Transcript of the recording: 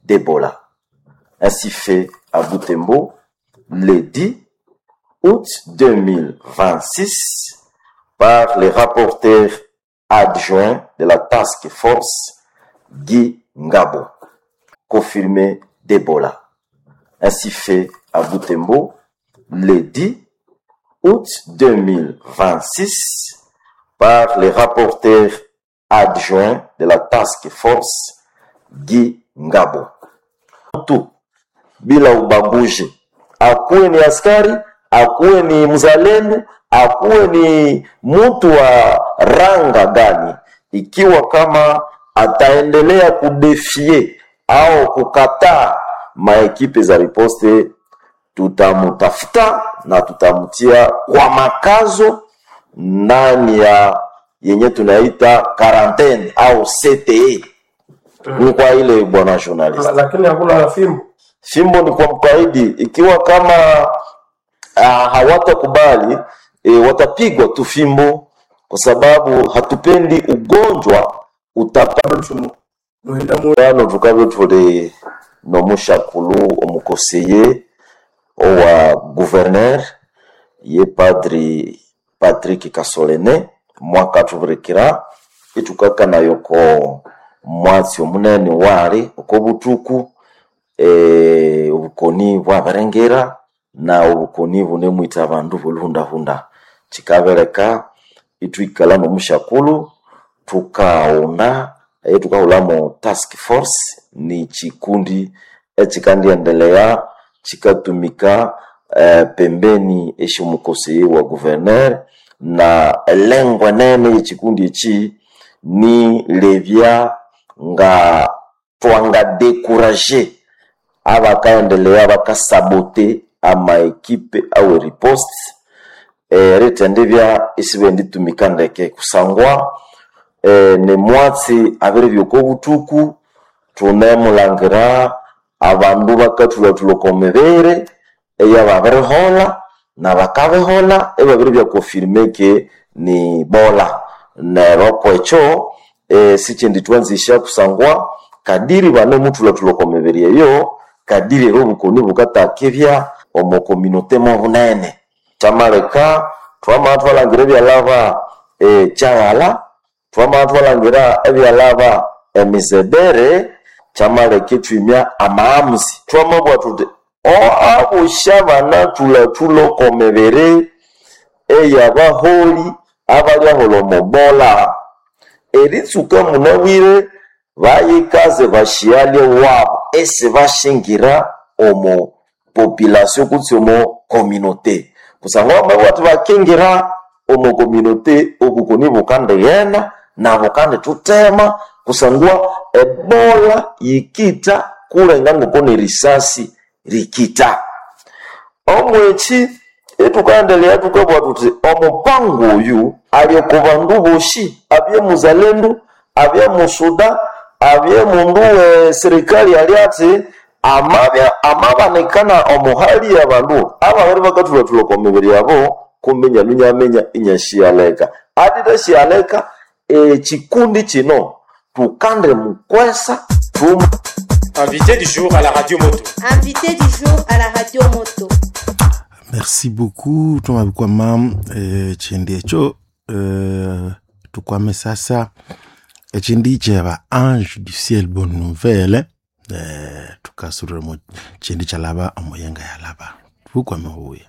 d'Ebola. Ainsi fait à Butembo le 10 août 2026 par le rapporteur adjoint de la Task Force Guy Ngabo, confirmé d'Ebola. Ainsi fait à Butembo le 10 août 2026 par le rapporteur adjoint de la Task Force Guy Ngabo. Tu bila ubaguzi, akuwe ni askari, akuwe ni mzalendo, akuwe ni mtu wa ranga gani, ikiwa kama ataendelea kudefie au kukataa maekipe za riposte, tutamutafuta na tutamtia kwa makazo ndani ya yenye tunaita quarantaine au CTE. Ni kwa ile bwana journalist. Lakini hakuna fimbo. Fimbo ni kwa mkaidi, ikiwa kama hawatakubali watapigwa tu fimbo, kwa sababu hatupendi ugonjwa utapano tukabye tuli nomushakulu omukoseye owa gouverneur ye padri Patrick Kasolene mwaka tubirikira itukakanayo ko mwatsi omunene wali oko butuku obukoni bwabarengera na obukoni bunemwita abandu boluhundahunda. Kikabereka itwikala nomushakulu tukaghunda tukahulamo task force ni chikundi echikandiendelea chikatumika pembeni esyomukoseyi wa gouverneur, na elengo enene yechikundi echi ni lebya nga twangadekuraje abakaendelea bakasabote amaekipe awe riposte erithendibya isibenditumika ndeke kusangwa nemwatsi abiribya oko buthuku thunemulangira abandu bakathulhathulha oko mibiri eyababiriholha nabakabiholha ibabiribya confirme ke ni bola. Neryo kwekyo sikyindi thwanzisya kusangwa kadiri banemuthulhathulha oko mibiri eyo kadiri era obukoni bukatakibya omo communauté mobunene. Kyamaleka twamabya thwalangira ebyalhaba kyaghalha, twamabya thwalangira ebyalhaba emizebere, kyamaleka ithwimya amaghamuzi. Twamabugha thuthi abosi abanathulhathulha oko mibiri eyabaholi abalyaholha omo bola, eritsuka munabwire bayikaze basyalye wabu isibashingira omo population kutse omo communauté kusangwa bamabugha bathi bakingira omo communauté obukoni bukandighenda nabukandithuthema kusangwa ebola yikitha kulenga ngoko nerisasi rikitha. Omwekyi ithukaendelea thukabugha thuthi omupango oyu ali oko bandu bosi, abye muzalendo, abye musuda, abye mundu we serikali ali athi amabya amabanikana omo hali yabandu ababiri bakathulhathulha oko mibiri yabo kumbe inyalu inyaminya inyasyaleka. Atithasyaleka ekikundi kino thukandimukwesa thuma. Invité du jour à la radio moto. Invité du jour à la radio moto. Merci beaucoup twamabikwama chindi ekyo tukwame sasa ekindi kyeba ange du ciel bonne nouvelle tukasurira mu chindi kyalaba omuyenga yalaba tukwame huya.